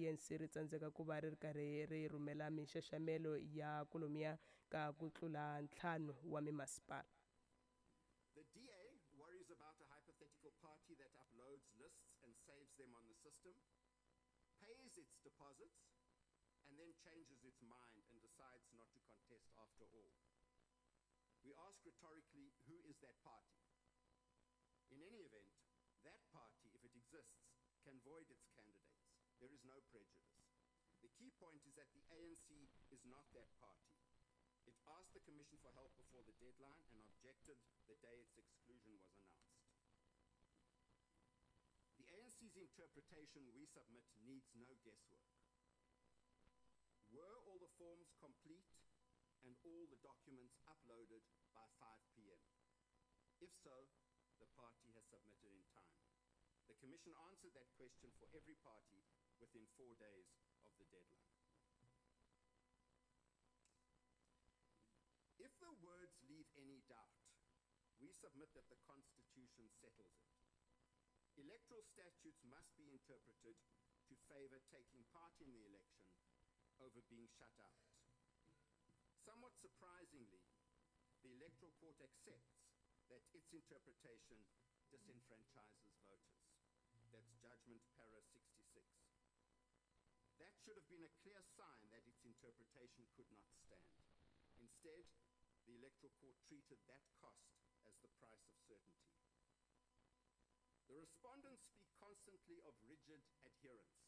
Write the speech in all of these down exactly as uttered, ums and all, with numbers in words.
A N C ri tsandzeka ku va ri ri karhi ri rhumela minxaxamelo ya kolomiya ka ku tlula ntlhanu wa mimasipala. The D A worries about a hypothetical party that uploads lists and saves them on the system, pays its deposits, and then changes its mind and decides not to contest after all. We ask rhetorically, who is that party? In any event, that party, if it exists, can void its candidates. There is no prejudice. The key point is that the A N C is not that party. It asked the Commission for help before the deadline and objected the day its exclusion was announced. The A N C's interpretation we submit needs no guesswork. Were all the forms complete and all the documents uploaded by five P M? If so, the party has submitted in time. The Commission answered that question for every party within four days of the deadline. If the words leave any doubt, we submit that the Constitution settles it. Electoral statutes must be interpreted to favor taking part in the election over being shut out. Somewhat surprisingly, the Electoral Court accepts that its interpretation disenfranchises voters. That's Judgment Para sixty-six. That should have been a clear sign that its interpretation could not stand. Instead, the Electoral Court treated that cost as the price of certainty. The respondents speak constantly of rigid adherence.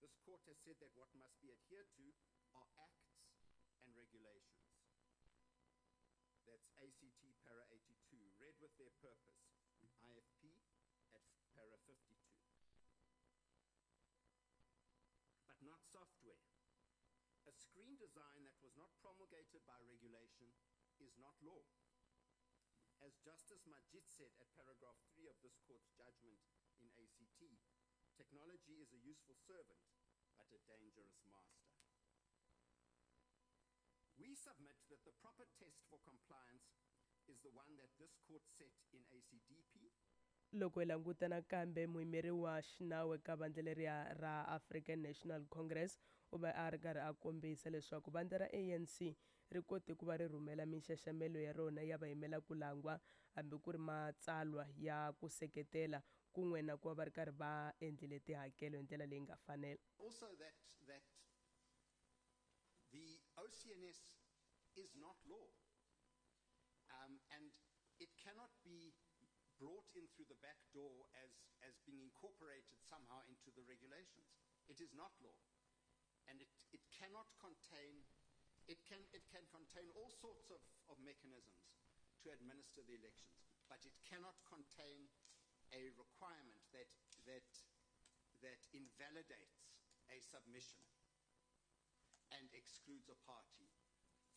This court has said that what must be adhered to are acts and regulations. That's A C T para eighty-two, read with their purpose, I F P at para fifty-two. But not software. A screen design that was not promulgated by regulation is not law. As Justice Majiedt said at paragraph three of this court's judgment in A C T, technology is a useful servant, but a dangerous master. We submit that the proper test for compliance is the one that this court set in A C D P. Loko hi languta nakambe muyimeri wa xinawu eka vandla leriya ra African National Congress u va a ri karhi a kombisa leswaku vandla ra A N C ri kote ku va ri rhumela minxaxamelo ya rona ya vayimela ku langwa hambi ku ri matsalwa ya ku seketela kun'we na ku va va ri karhi va endlile tihakelo hi ndlela leyi nga fanela. Also that, that the O C N S is not law, um, and it cannot be brought in through the back door as, as being incorporated somehow into the regulations. It is not law, and it, it cannot contain, it can, it can contain all sorts of, of mechanisms to administer the elections, but it cannot contain a requirement that, that, that invalidates a submission and excludes a party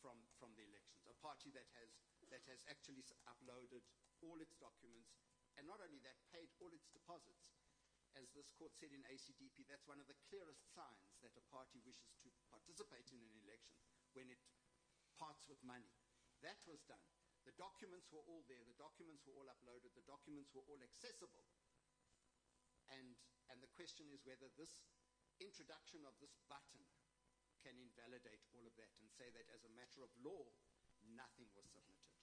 from, from the elections, a party that has, that has actually s-, uploaded all its documents, and not only that, paid all its deposits. As this court said in A C D P, that's one of the clearest signs that a party wishes to participate in an election, when it parts with money. That was done. The documents were all there. The documents were all uploaded. The documents were all accessible. And, and the question is whether this introduction of this button can invalidate all of that and say that as a matter of law, nothing was submitted.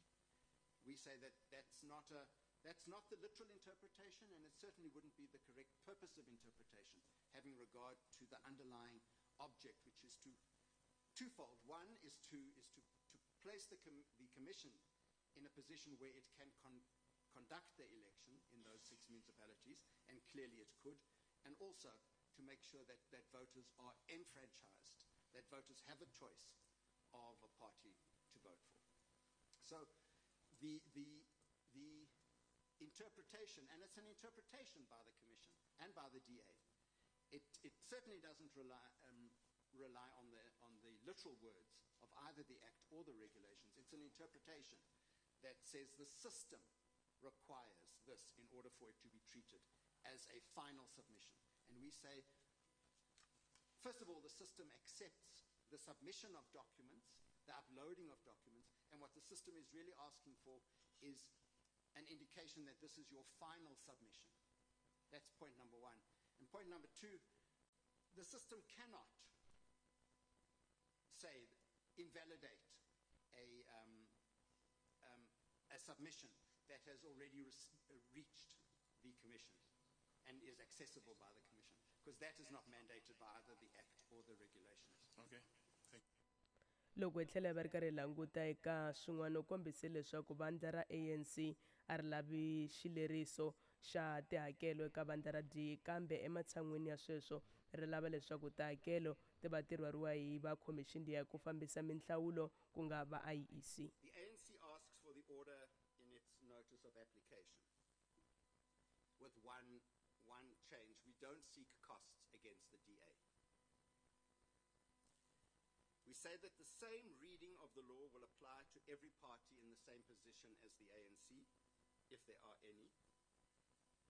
We say that that's not, a, that's not the literal interpretation, and it certainly wouldn't be the correct purpose of interpretation, having regard to the underlying object, which is to twofold. One is to, is to, to place the, com-, the Commission in a position where it can con-, conduct the election in those six municipalities, and clearly it could, and also to make sure that, that voters are enfranchised, that voters have a choice of a party to vote for. So the, the, the interpretation, and it's an interpretation by the Commission and by the D A, it, it certainly doesn't rely, um, rely on the, on the literal words of either the Act or the regulations. It's an interpretation that says the system requires this in order for it to be treated as a final submission. And we say, first of all, the system accepts the submission of documents, the uploading of documents, and what the system is really asking for is an indication that this is your final submission. That's point number one. And point number two, The system cannot say, invalidate a, um, um, a submission that has already re- reached the Commission and is accessible by the Commission, because that is not mandated by either the Act or the regulations. Okay. Thank Loko hi tlhela hi va ri karhi hi languta eka swin'wana, u kombise leswaku vandla ra A N C a ri lavi xileriso xa tihakelo eka vandla ra D A, kambe ematshan'wini ya sweswo ri lava leswaku tihakelo ti va ti rhwariwa hi va khomixini ya ku fambisa minhlawulo, ku nga va I E C. The A N C asks for the order in its notice of application with one, one change. We don't seek costs against the D A. We say that the same reading of the law will apply to every party in the same position as the A N C, if there are any.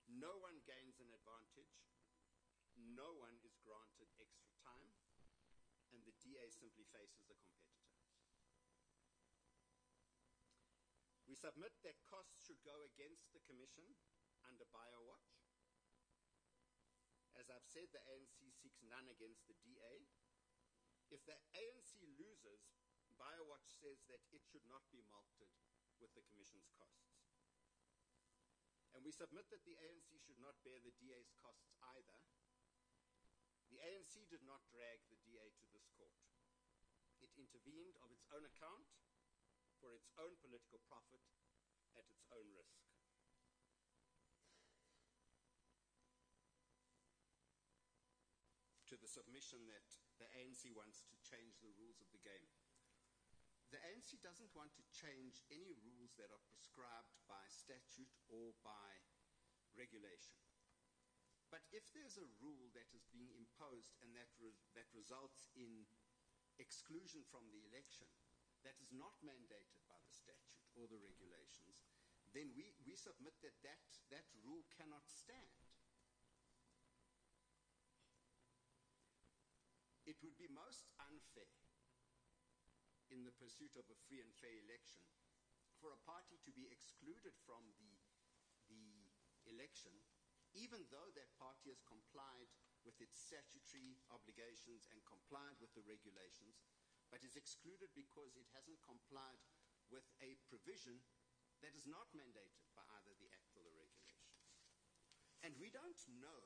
No one gains an advantage. No one is granted extra time. And the D A simply faces a competitor. We submit that costs should go against the Commission under BioWatch. As I've said, the A N C seeks none against the D A. If the A N C loses, BioWatch says that it should not be mulcted with the Commission's costs. And we submit that the A N C should not bear the D A's costs either. The A N C did not drag the D A to this court. It intervened of its own account for its own political profit at its own risk. To the submission that the A N C wants to change the rules of the game. The A N C doesn't want to change any rules that are prescribed by statute or by regulation. But if there's a rule that is being imposed and that, re- that results in exclusion from the election that is not mandated by the statute or the regulations, then we, we submit that that, that rule cannot stand. It would be most unfair in the pursuit of a free and fair election for a party to be excluded from the, the election, even though that party has complied with its statutory obligations and complied with the regulations, but is excluded because it hasn't complied with a provision that is not mandated by either the Act or the regulations. And we don't know.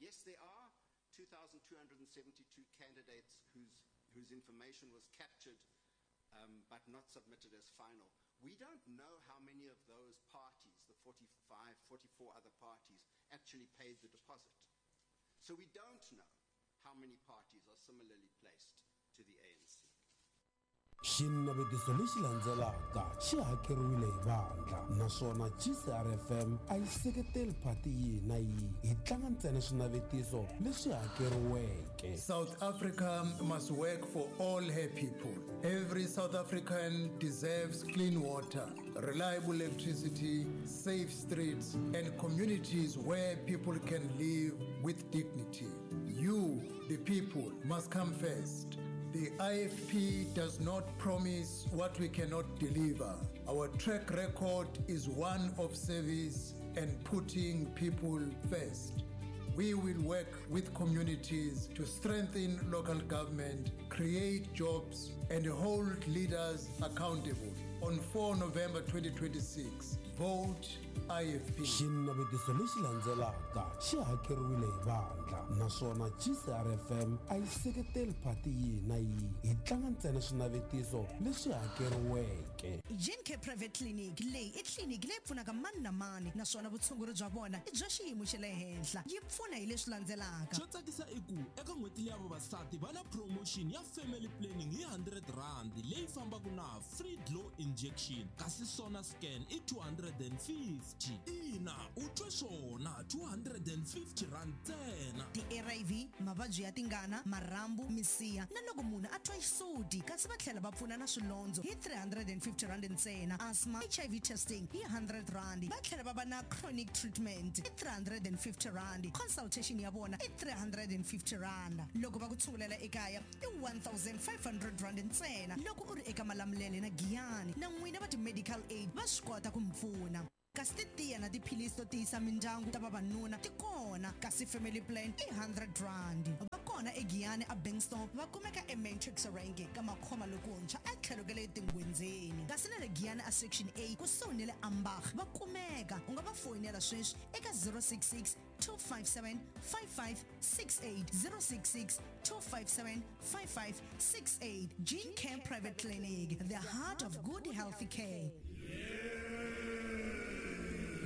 Yes, there are two thousand two hundred seventy-two candidates whose, whose information was captured um, but not submitted as final. We don't know how many of those parties, the forty-five, forty-four other parties, actually paid the deposit. So we don't know how many parties are similarly placed to the A N C. Xinavetiso lexi landzelaka xi hakeriwile hi vandla, naswona G C R F M a yi seketeli phati yihi na yihi. Hi tlanga ntsena swinavetiso leswi hakeriweke. South Africa must work for all her people. Every South African deserves clean water, reliable electricity, safe streets, and communities where people can live with dignity. You, the people, must come first. The I F P does not promise what we cannot deliver. Our track record is one of service and putting people first. We will work with communities to strengthen local government, create jobs, and hold leaders accountable. On four November twenty twenty-six, vote I F P. Xinavetiso lexi landzelaka xi hakeriwile hi vandla, naswona G C R F M a yi seketeli phati yihi na yihi. Hi tlanga ntsena swinavetiso leswi hakeriweke. Gencare Private Clinic leyi i tliliniki leyi pfunaka mani na mani, naswona vutshunguri bya vona i bya xiyimo xa le henhla. Yi pfuna hi leswi landzelaka: Xo tsakisa i ku eka n'hweti leya vavasati va na promotion ya family planning hi one hundred rand leyi fambaka na free glow injection, kasi sona scan i two hundred and fifty. Ina, u twe swona, two hundred and fifty rand ntsena. Ti-A R V, mavabyi ya tingana, marhambu, misiha na loko munhu a twa xisuti, kasi va tlhela va pfuna na swilondzo hi three hundred and fifty rand ntsena, asthma, H I V testing hi one hundred rand. Va tlhela va va na chronic treatment hi three hundred and fifty rand. Consultation ya vona i three hundred and fifty rand. Loko va ku tshungulela ekaya i one thousand five hundred rand ntsena. Loko u ri eka Malamulele na Giyani, na n'wina va ti-medical aid va swi kota ku mi pfuna, kasi titiya na tiphilisi to tiyisa mindyangu ta vavanuna ti kona, kasi family plan i one hundred rand. Va kona. eGiyani a Bankston va kumeka eMatrix Rank ka makhoma lokuntshwa etlhelo ka le tingwenzeni kasi na le Giyani a Section A kusuhi na le Ambach va kumeka u nga va foyinela sweswi eka zero six six two five seven five five six eight zero six six two five seven five five six eight. Gene Care Private Clinic, the heart of good healthy care.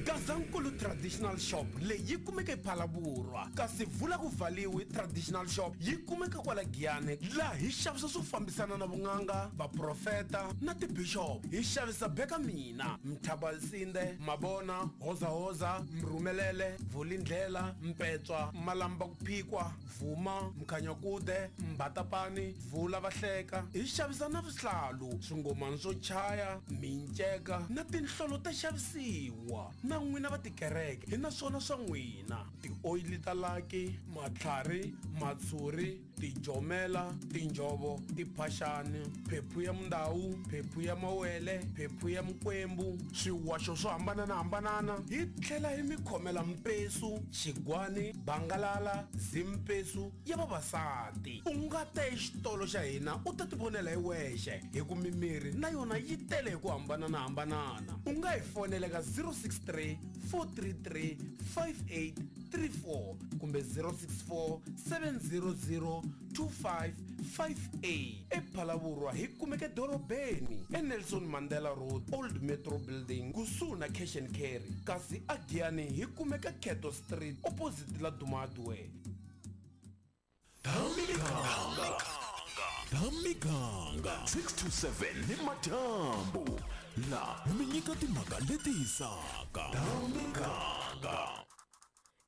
Gazankulu Traditional Shop leyi yi kumeka ePhalaborwa kasi vula ku valiwi Traditional Shop yi kumeka kwala Giyani laha hi xavisa swo fambisana na vun'anga vaprofeta na tibishop hi xavisa beka mina Mthabalsinde Mabona Hozahoza Mrumelele Vulindlela Mpetswa Malamba ku phikwa Vuma Mkhanyakude Mbatapani Vula Vahleka hi xavisa na vuhlalu swingomani swo chaya minceka na tinhlolo ta xavisiwa na n'wina va tikereke hi na swona swa n'wina tioyili ta laki matlhari matshuri tijomela tinjovo tiphaxani phephu ya mundawu phephu ya mawele phephu ya mikwembu swiwaxo swo hambananahambanana hi tlhela hi mi khomela mpesu xigwani bangalala zimpesu ya vavasati u nga ta exitolo xa hina u ta tivonela hi wexe hi ku mimiri na yona yi tele hi ku hambananahambanana u nga hi fonela ka zero six three four three three five eight three four kumbe zero six four seven zero zero two five five eight ePhalaborwa hi kumeka edorobeni eNelson Mandela Road Old Metro Building kusuhi na Cash and Carry kasi aGiyani hi kumeka Keto Street opposite la Dumadwe. Thamikanga six to seven ni madyambu la mi nyika timhaka leti hisaka. Thamikanga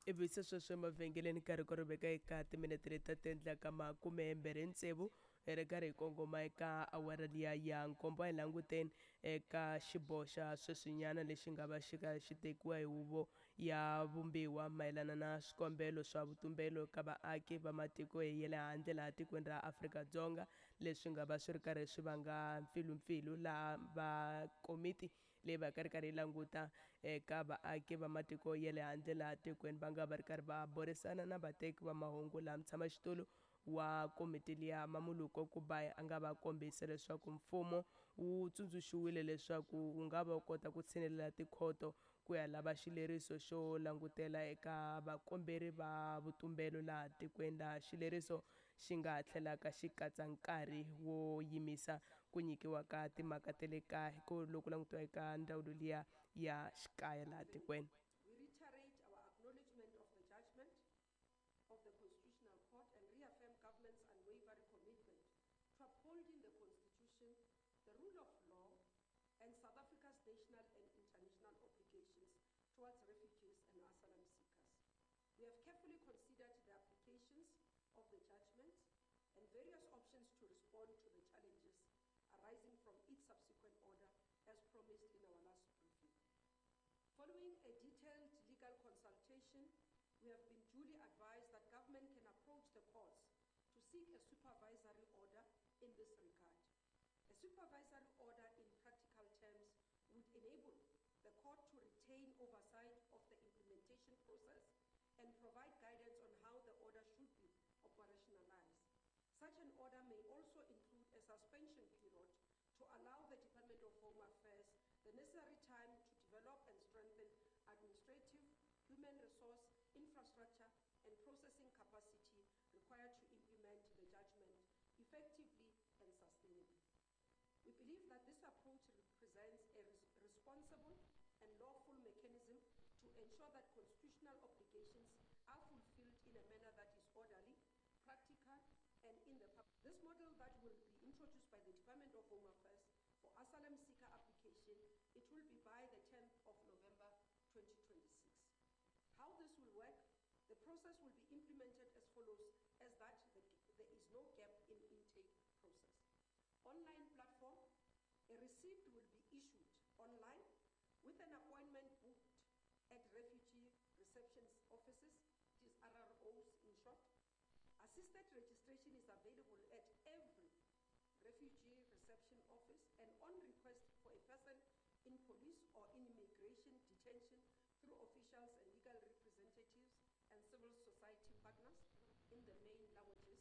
ivi se sweswo emavhengeleni nkarhi ku ri veka eka timinete leti ta ti endlaka makume mbirhi tsevu hi ri karhi hi kongoma eka awara liya ya nkombo a hi languteni eka xiboho xa sweswinyana lexi nga va xi ka xi tekiwa hi huvo ya vumbiwa mayelana na swikombelo swa vutumbelo ka vaaki va matiko ya le handle laha tikweni ra Afrika-Dzonga leswi nga va swi ri karhi swi vanga mpfilumpfilu laha va komiti leyi va ka ri karhi yi languta eka vaaki va matiko ya le handle laha tikweni va nga va ri karhi va burisana na vateki va mahungu laha mutshamaxitulu wa komiti liya Mamuluko Kubayi a nga va kombisa leswaku mfumo wu tsundzuxiwile leswaku wu nga va kota ku tshinelela tikhoto ku ya lava xileriso xo langutela eka vakomberi va vutumbelo laha tikweni laha xileriso xi nga tlhelaka xi katsa nkarhi wo yimisa ku nyikiwa ka timhaka ta le kaya ku loko langutiwa eka ndzawulo liya ya xikaya laha tikweni. We reiterate our acknowledgement of the judgment of the Constitutional Court and reaffirm government's unwavering commitment to upholding the Constitution, the rule of law, and South Africa's national and international obligations towards refugees and asylum seekers. We have carefully considered the applications of the judgment and various options to respond to the challenges arising from its subsequent order as promised in our last briefing. Following a detailed legal consultation, we have been duly advised that government can approach the courts to seek a supervisory order in this regard. A supervisory order in practical terms would enable the court to retain oversight of the implementation process and provide guidance on how the order should be operationalized. Such an order may also include a suspension period to allow the Department of Home Affairs the necessary time to develop and strengthen administrative, human resource, infrastructure, and processing capacity required to implement the judgment effectively and sustainably. We believe that this approach represents a res- responsible and lawful mechanism to ensure that constitutional obligations are fulfilled in a manner that is orderly, practical, and in the public. This model that will be introduced by the Department of Home Affairs for asylum seeker application, it will be by the tenth of November twenty twenty-six. How this will work, the process will be implemented as follows, as that the, there is no gap in intake process. Online platform, a receipt will be issued online with an appointment booked at refugee reception offices, it is R R Os in short. Assisted registration is available at every refugee reception office and on request for a person in police or in immigration detention through officials and legal representatives and civil society partners in the main languages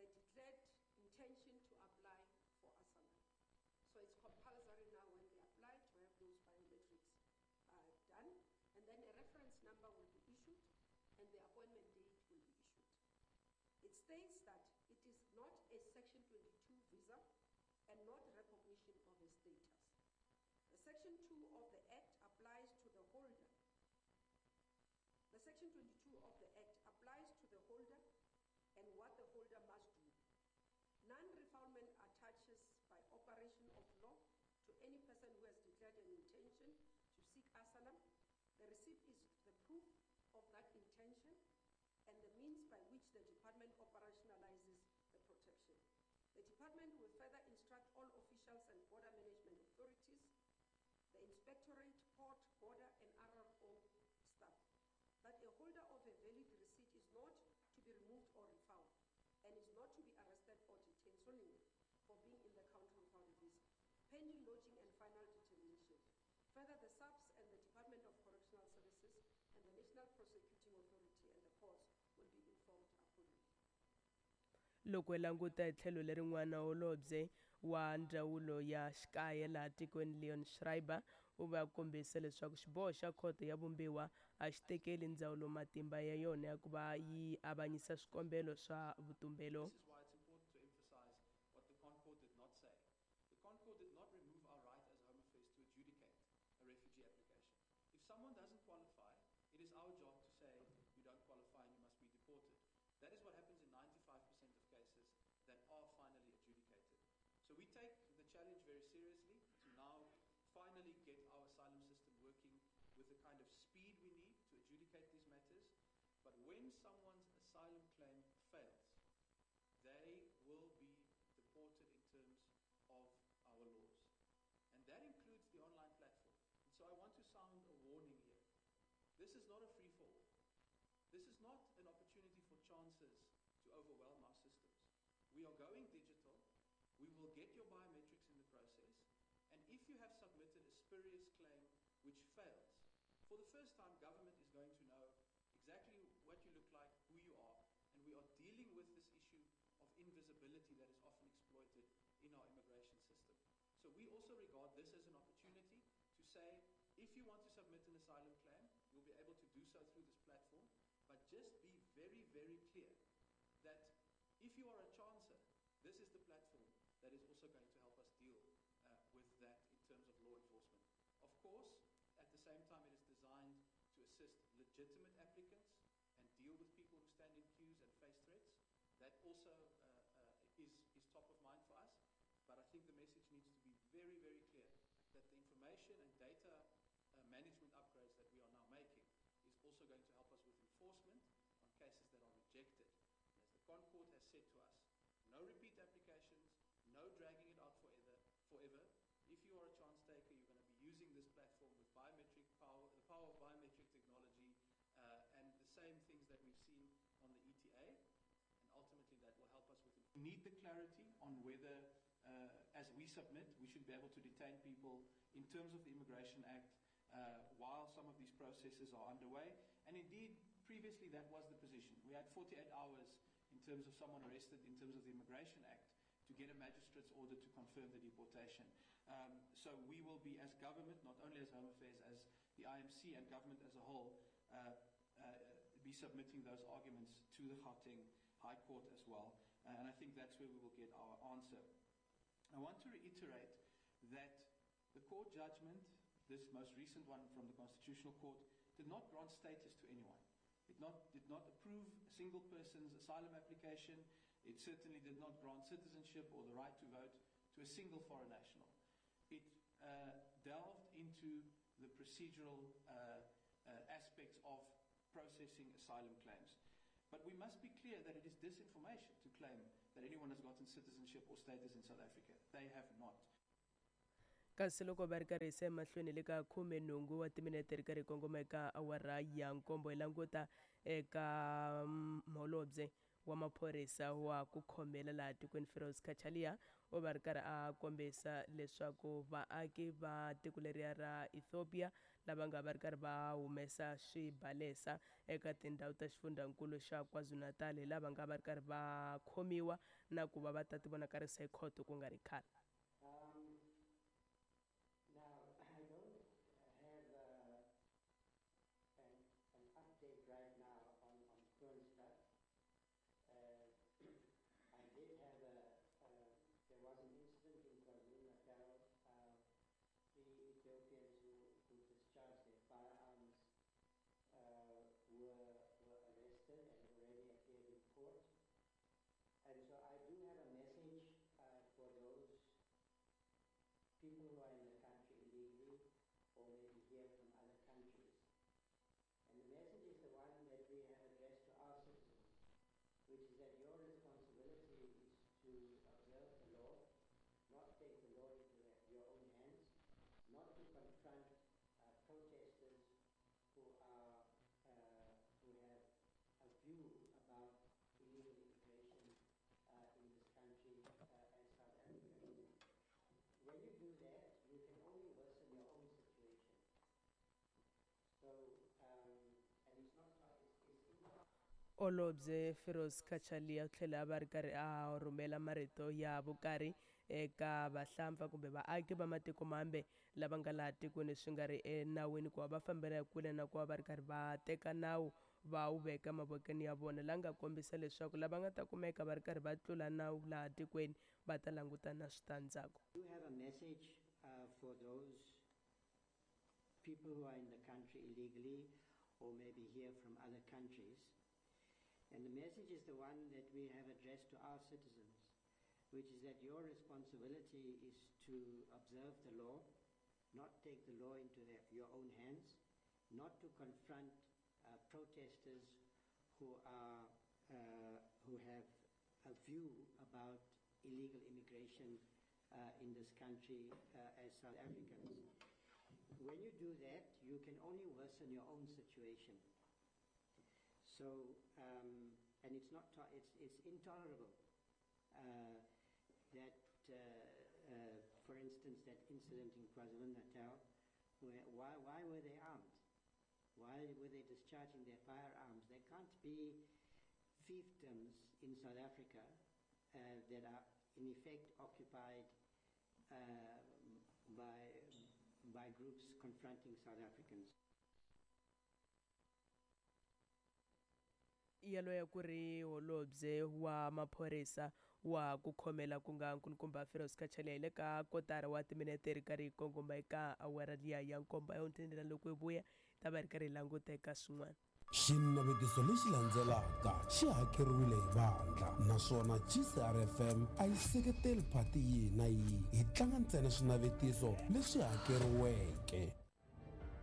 the declared intention to apply for asylum. So it's compulsory now when they apply to have those biometrics uh, done, and then a reference number will be issued and the appointment date will be issued. It states that it is not a Section twenty-two visa and not recognition of a status. The Section two of the Act applies to the holder. The Section twenty-two of the Act applies to the holder and what the holder must do. Non-refoulement attaches by operation of law to any person who has declared an intention to seek asylum. The receipt is the proof of that intention and the means by which the department operationalizes the protection. The department will further instruct all officials and border management authorities, the inspectorate, port, border, and R R O staff, that a holder of a valid receipt is not to be removed or refound and is not to be arrested or detained solely for being in the country without a visa, pending lodging and final determination. Further, the S A P S and the Department of Correctional Services and the National Prosecuting Authority and the courts will be informed accordingly. Loko hi languta hi tlhelo lerin'wana, holobye wa ndzawulo ya xikaya laha tikweni Leon Schreiber u va kombisa leswaku xiboho xa khoto ya vumbiwa a xi tekeli ndzawulo matimba ya yona ya ku va yi avanyisa swikombelo swa vutumbelo. This is why it's important to emphasize what the ConCourt did not say. The ConCourt did not remove our right as Home Affairs to adjudicate a refugee application. If someone doesn't qualify, it is our job to say you don't qualify and you must be deported. That is what happens in ninety-five percent of cases that are finally adjudicated. So we take the challenge very seriously to now finally get our asylum system working with the kind of speed we need to adjudicate these matters. But when someone's asylum claim fails, they will be deported in terms of our laws. And that includes the online platform. And so I want to sound a warning here. This is not a free-for-all. This is not an opportunity for chances to overwhelm our systems. We are going digital. We will get your biometrics in the process. And if you have submitted a spurious claim which fails, for the first time, government is going to know exactly what you look like, who you are, and we are dealing with this issue of invisibility that is often exploited in our immigration system. So we also regard this as an opportunity to say, if you want to submit an asylum claim, you'll be able to do so through this platform, but just be very, very clear that if you are a chancer, this is the platform that is also going to help us deal uh, with that in terms of law enforcement. Of course, at the same time, it is designed to assist legitimate applicants and deal with people who stand in queues and face threats. That also uh, uh, is, is top of mind for us. But I think the message needs to be very, very clear that the information and data uh, management upgrades that we are now making is also going to help us with enforcement on cases that are rejected. And as the ConCourt has said to us, no repeat applications, no dragging it out forever. forever. If you are a chance taker, you're gonna be using this platform with biometric power, the power of biometric technology, uh, and the same things that we've seen on the E T A. And ultimately that will help us with it. We need the clarity on whether, uh, as we submit, we should be able to detain people in terms of the Immigration Act, uh, while some of these processes are underway. And indeed, previously that was the position. We had forty-eight hours in terms of someone arrested in terms of the Immigration Act to get a magistrate's order to confirm the deportation. Um, so we will be, as government, not only as Home Affairs, as the I M C and government as a whole, uh, uh, be submitting those arguments to the Gauteng High Court as well. Uh, and I think that's where we will get our answer. I want to reiterate that the court judgment, this most recent one from the Constitutional Court, did not grant status to anyone. It not, did not approve a single person's asylum application. It certainly did not grant citizenship or the right to vote to a single foreign national. It, uh, delved into the procedural, uh, uh, aspects of processing asylum claims. But we must be clear that it is disinformation to claim that anyone has gotten citizenship or status in South Africa. They have not. Kasi loko va ri karhi se emahlweni le ka khume nhungu wa timinete ri karhi kongoma eka awara ya nkombo hi languta eka mholobye wa maphorisa wa ku khomela laha tikweni Firoz Cachalia U va ri karhi a kombisa leswaku vaaki va tiko leriya ra Ethiopia lava nga va ri karhi va humesa swibalesa eka tindhawu ta xifundzankulu xa KwaZulu-Natal hi lava nga va ri karhi va khomiwa na ku va va ta tivonakarisa hi khoto ku nga ri khale. Um, now, I don't have uh, an, an update right now on, on Kroonstad. Uh, I did have a, uh, there was an incident in KwaZulu-Natal, uh, three Ethiopians who, who discharged their firearms uh, were, were arrested and already appeared in court. And so I do have a message uh, for those people who are in the country illegally or maybe here from other countries. And the message is the one that we have addressed to our citizens, which is that your responsibility is to observe the law, not take the law into your own hands, not to confront uh, protesters who are uh, who have a view about illegal immigration uh, in this country uh, as South Africans. When you do that, you can only worsen your own situation. So, um, and it's not, it's, it's intolerable. Holobye Firoz Cachalia u tlhela va ri karhi a rhumela marito ya vukarhi eka vahlampfa kumbe vaaki va matiko mambe lava nga laha tikweni swi nga ri enawini ku va va fambela kule na ku va va ri karhi va teka nawu va wu veka mavokweni ya vona, la nga kombisa leswaku lava nga ta kumeka va ri karhi va tlula nawu laha tikweni va ta langutana na switandzhaku. I do have a message uh, for those people who are in the country illegally or maybe here from other countries. And the message is the one that we have addressed to our citizens, which is that your responsibility is to observe the law, not take the law into their, your own hands, not to confront uh, protesters who are uh, who have a view about illegal immigration uh, in this country uh, as South Africans. When you do that, you can only worsen your own situation. So, um, and it's not, to- it's, it's intolerable uh, that, uh, uh, for instance, that incident in KwaZulu-Natal, where, why, why were they armed? Why were they discharging their firearms? There can't be fiefdoms in South Africa uh, that are in effect occupied uh, by, by groups confronting South Africans. Yaloye ku ri holobye wa maphorisa wa ku khomela ku nga nkulukumba Firoz Cachalia hi le ka kotara wa timinete ri karhi yi kongoma eka awara liya ya nkombo ya hundzeni loko hi vuya hi ta va ri karhi hi languta eka swin'wana. Xinavetiso lexi landzelaka xi hakeriwile hi vandla naswona G C R F M a yi seketeli phati yihi na yihi, hi tlanga ntsena swinavetiso leswi hakeriweke.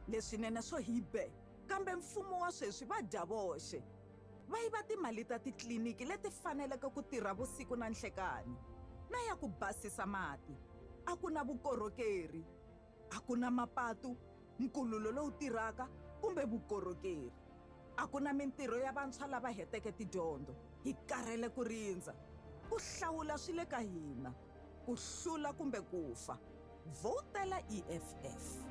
Leswinene swo hi be, kambe mfumo wa sweswi va dya voxe. Va yiva timali ta titliliniki leti faneleke ku tirha vusiku na nhlekani, na ya ku basisa mati. A ku na vukorhokeri, a ku na mapatu, nkululo lowu tirhaka kumbe vukorhokeri. A ku na mintirho ya vantshwa lava heteke tidyondzo. Hi karhele ku rindza. Ku hlawula swi le ka hina, ku hlula kumbe ku fa. Vhotela E F F.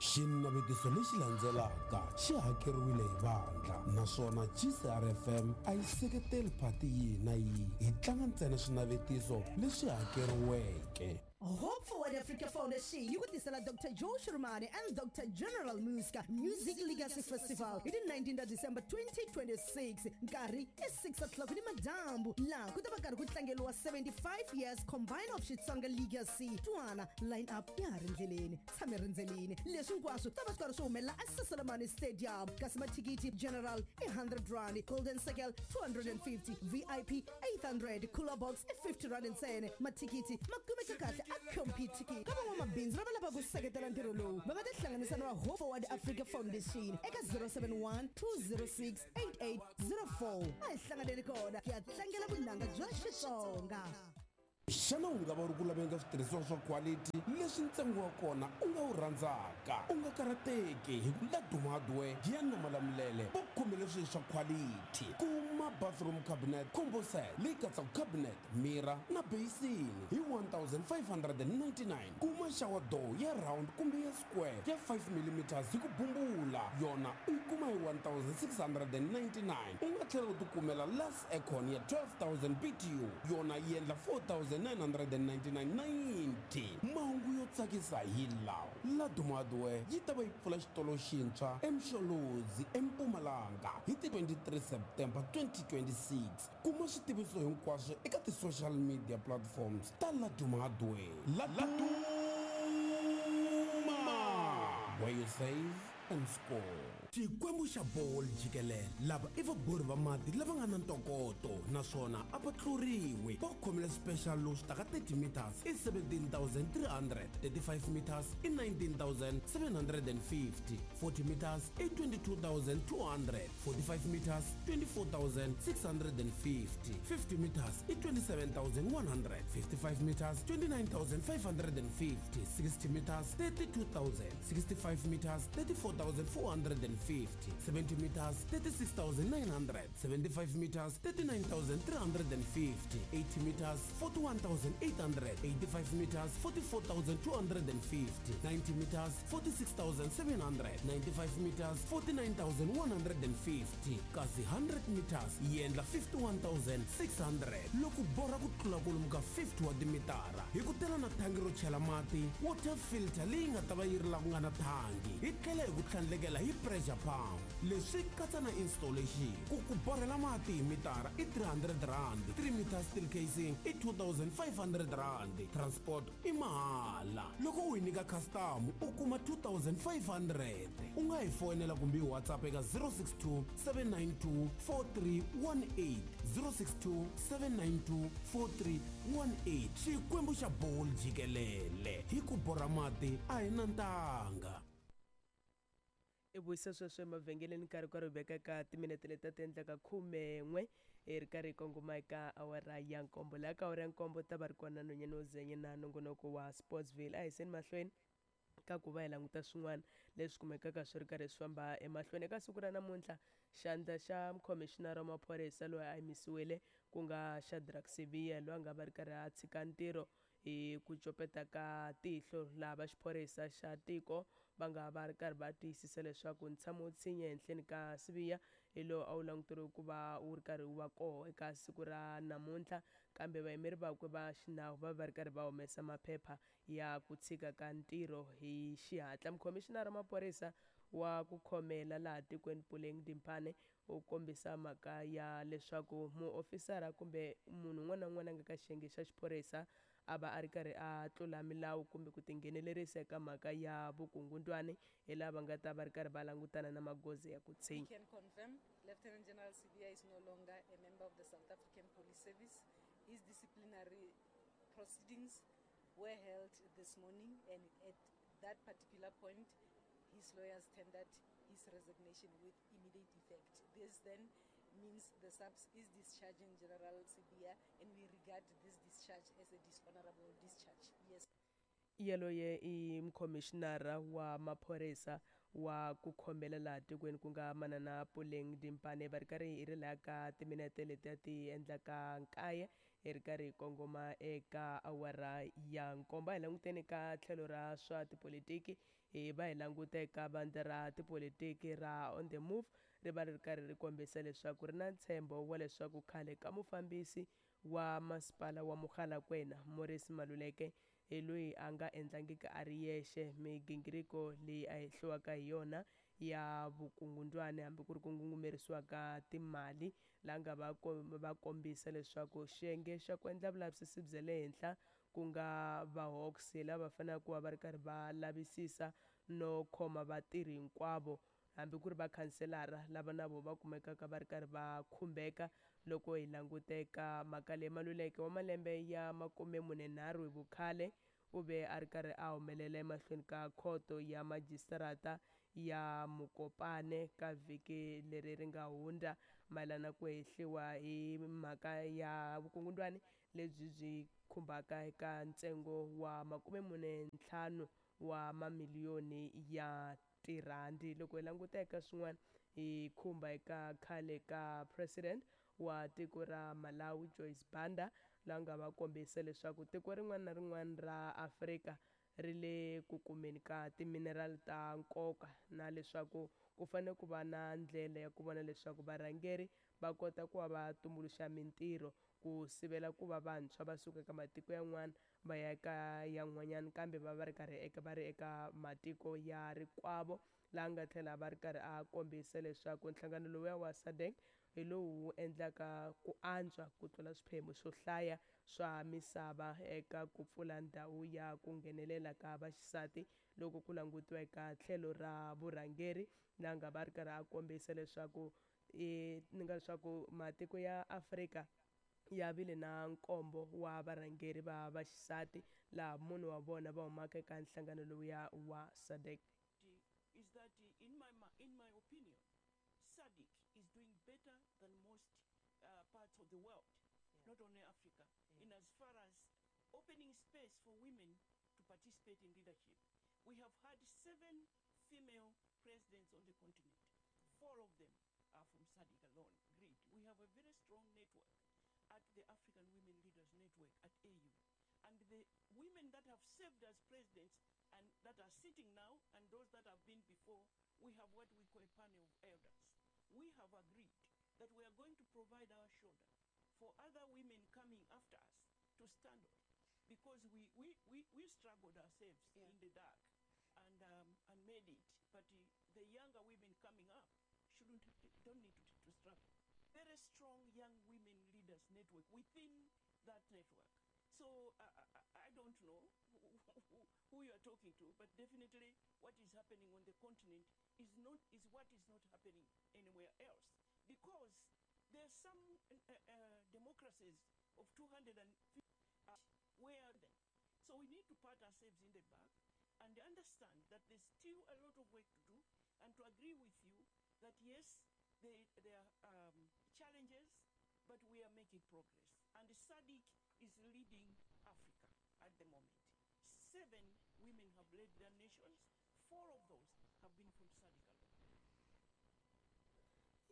Xinavetiso lexi landzelaka xi hakeriwile hi vandla naswona G C R F M a yi seketeli phati yihi na yihi, hi tlanga ntsena swinavetiso leswi hakeriweke. Hope Forward Africa Foundation yi ku tisela Doctor Joe Shirimani and Doctor General Muska Music Legacy Festival hi ti nineteen ta December twenty twenty-six, nkarhi i six o'clock ni madyambu, laha ku ta va karhi ku tlangeriwa seventy-five years combined of Xitsonga Legacy. Twana line up ya ha ri ndleleni, tshame rindzelini. Leswi hinkwaswo ta va swi karhi swi humelela eSaselamani Stadium, kasi mathikithi general i hundred rand, golden circle two hundred and fifty, V I P eight hundred, cooler box i fifty rand ntsena. Mathikithi ma kumeka kahle a Computicket. Ka van'wamabindzu lava lavaka ku seketela ntirho lowu, va nga tihlanganisa na Hope Forward Africa Foundation eka zero seven one, two zero six, eight eight zero four. A hi hlanganeni kona hi ya tlangela vunanga bya Xitsonga. Xana u nga va u ri ku laveni ka switirhisiwa swa quality leswi ntsengo wa kona u nga wu rhandzaka? U nga karhateki hi ku Laduma Hardware Giyani na Malamulele va khomele swilo swa quality. Kuma bathroom cabinet combo set leyi katsaka cabinet, mirror na basin hi one thousand five hundred and ninety-nine. Kuma shower door ya round kumbe ya square ya five millimeters hi ku bumbula, yona u yi kuma hi one thousand six hundred and ninety-nine. U nga tlhela u tikumela last aircon ya twelve thousand B T U, yona yi endla four thousand nine hundred and ninety-nine ninety. Mahungu yo tsakisa hi lawa: Laduma Hardware yi ta va yi pfula xitolo xintshwa eMsholozi eMpumalanga hi ti twenty-three September twenty twenty-six. Kuma switiviso hinkwaswo eka ti-social media platforms ta Laduma Hardware. Laduma, where you save and score. Xikwembu xa bolo jikelele lava i vabori va mati lava nga na ntokoto naswona a va tluriwi. Va khomile special lowu swi taka thirty meters i seventeen thousand three hundred, thirty-five meters i nineteen thousand seven hundred and fifty, forty meters i twenty-two thousand two hundred, forty-five meters twenty-four thousand six hundred and fifty, fifty meters i twenty-seven thousand one hundred, fifty-five meters twenty-nine thousand five hundred and fifty, sixty meters thirty-two thousand, sixty-five meters thirty-four thousand four hundred and fifty, seventy meters thirty-six thousand nine hundred, seventy-five meters thirty-nine thousand three hundred and fifty, eighty meters forty-one thousand eight hundred, eighty-five meters forty-four thousand two hundred and fifty, ninety meters forty-six thousand seven hundred, ninety-five meters forty-nine thousand one hundred and fifty, kasi hundred meters yi endla fifty-one thousand six hundred. Loko borha ku tlula kwalomu ka fifty wa timitara hi ku tela na thangi ro chela mati, water filter leyi nga ta va yi ri la ku nga na thangi, hi tlhela hi ku tlhandlekela hi pressure pump. Leswi katsa na installation. Ku ku borhela mati hi mitara i three hundred rand, three meters steel casing i two thousand five hundred rand, transport i mahala. Loko u yi nyika customer u kuma two thousand five hundred. U nga hi foyinela kumbe hi WhatsApp eka zero six two seven nine two four three one eight, zero six two seven nine two four three one eight. Xikwembu xa bolo jikelele hi ku borha mati a hi na ntanga. I vuyisa sweswo emavhengeleni nkarhi karhi hi veka ka timinete leti ta ti endlaka khumen'we hi ri karhi hi kongoma eka awara ya nkombo. Laha ka awara ya nkombo ta va ri kona nhwanyana wo zenye na nongonoko wa Sportsville. A hi yiseni mahlweni ka ku va hi languta swin'wana leswi kumekaka swi ri karhi swi famba emahlweni. Eka siku ra namuntlha, xandla xa mukhomishinara wa maphorisa loyi a yimisiwile ku nga Shadrack Sibiya, loyi a nga va ri karhi a tshika ntirho hi ku copeta ka tihlo, laha va xiphorisa xa tiko va nga va ri karhi va tiyisisa leswaku ntshamo wo tshinya ehenhleni ka Sibiya hi lowu a wu languteriwe ku va wu ri karhi wu va koho eka siku ra namuntlha, kambe vayimeri vakwe va xinawu va va ri karhi va humesa maphepha ya ku tshika ka ntirho hi xihatla. Mukhomishinara wa maphorisa wa ku khomela laha tikweni Puleng Dimpane u kombisa mhaka ya leswaku muofisara kumbe munhu un'wana na un'wana a nga ka xiyenge xa xiphorisa a va a ri karhi a tlula milawu kumbe ku tinghenelerisa eka mhaka ya vukungundwani, hi laha va nga ta va ri karhi va langutana na magoza ya ku tshinya. We can confirm Lieutenant General Sibiya is no longer a member of the South African Police Service. His disciplinary proceedings were held this morning, and at that particular point, his lawyers tendered his resignation with immediate effect. This then means the S A P S is discharging General Sibiya, and we regard this discharge as a dishonorable discharge. Yes. Yaloye i mukhomishinara wa maphorisa wa ku khomela laha tikweni ku nga manana Puleng Dimpane. Va ri karhi hi ri laha ka timinete letiya ti endlaka nkaye hi ri karhi hi kongoma eka awara ya nkombo. A hi languteni ka tlhelo ra swa tipolitiki, hi va hi languta eka vandla ra tipolitiki ra On The Move, ri va ri karhi ri kombisa leswaku ri na ntshembo wa leswaku khale ka mufambisi wa masipala wa Mogalakwena Morris Maluleke hi loyi a nga endlangiki a ri yexe migingiriko leyi a hehliwaka hi yona ya vukungundwani hambi ku ri ku ngungumerisiwa ka timali, laha nga va va kombisa leswaku xiyenge xa ku endla vulavisisi bya le henhla ku nga va Hawks lava faneleke ku va va ri karhi va lavisisa no khoma vatirhi hinkwavo hambi ku ri vakhanselara lava na vona va kumekaka va ri karhi va khumbeka. Loko hi languteka mhaka leyi, Maluleke wa malembe ya makume mune nharhu hi vukhale u ve a ri karhi a humelela emahlweni ka khoto ya majisitarata ya Mokopane ka vhiki leri ri nga hundza mayelana ku hehliwa hi mhaka ya vukungundwani lebyi byi khumbaka eka ntsengo wa makume mune ntlhanu wa mamiliyoni ya tirhandi. Loko hi languta eka swin'wana hi khumba eka khale ka president wa tiko ra Malawi Joyce Banda, laha nga va kombisa leswaku tiko rin'wana na rin'wana ra Afrika ri le ku kumeni ka timinerali ta nkoka, na leswaku ku fanele ku va na ndlela ya ku vona leswaku varhangeri va kota ku va va tumbuluxa mintirho ku sivela ku va vantshwa va suka eka matiko yan'wana va ya eka yan'wanyana, kambe va va ri karhi eka va ri eka matiko ya rikwavo. Laha nga tlhela va ri karhi a kombisa leswaku nhlangano lowuya wa SADC hi lowu wu endlaka ku antswa ku tlula swiphemu swo hlaya swa misava eka ku pfula ndhawu ya ku nghenelela ka vaxisati loko ku langutiwa eka tlhelo ra vurhangeri. Laha nga va ri karhi a kombisa leswaku i ni nga leswaku matiko ya Afrika ya vile na nkombo wa varhangeri va vaxisati, laha munhu wa vona va humaka eka nhlangano lowuya wa SADC. Is that in my in my opinion, SADC is doing better than most uh, parts of the world, yeah. Not only Africa, yeah. In as far as opening space for women to participate in leadership. We have had seven female presidents on the continent. Four of them are from SADC alone. Great. We have a very strong network at the African Women Leaders Network at A U. And the women that have served as presidents and that are sitting now and those that have been before, we have what we call a panel of elders. We have agreed that we are going to provide our shoulder for other women coming after us to stand on, because we, we, we, we struggled ourselves yeah. in the dark and, um, and made it. But the, the younger women coming up shouldn't, don't need to, to struggle. Very strong young women leaders network within that network. So uh, I, I don't know who, who you are talking to, but definitely what is happening on the continent is not is what is not happening anywhere else, because there are some uh, uh, democracies of two hundred fifty uh, where then. So we need to pat ourselves in the back and understand that there's still a lot of work to do, and to agree with you that yes, they, there are um, challenges, but we are making progress. And SADC is leading Africa at the moment. Seven women have led their nations. Four of those have been from SADC alone.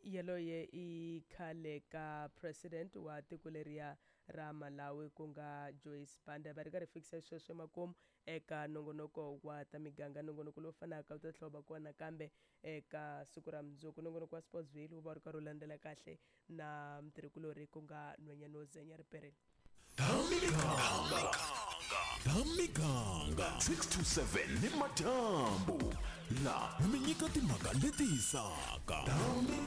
Yaloye i khale ka president wa tiko leriya ra Malawi ku nga Joyce Banda. Va ri karhi fikisa sweswo emakumu eka nongonoko wa ta miganga, nongonoko lowu fanaka wu ta tlhela va kona kambe eka siku ra mundzuku. Nongonoko wa Sportsville wu va ri karhi wu landzela kahle na mutirhikulorhi ku nga nhwanyana wo Zenya Riperile. Thamikanga Thamikanga six to seven ni madyambu la mi nyika timhaka leti hisaka. Thamikanga.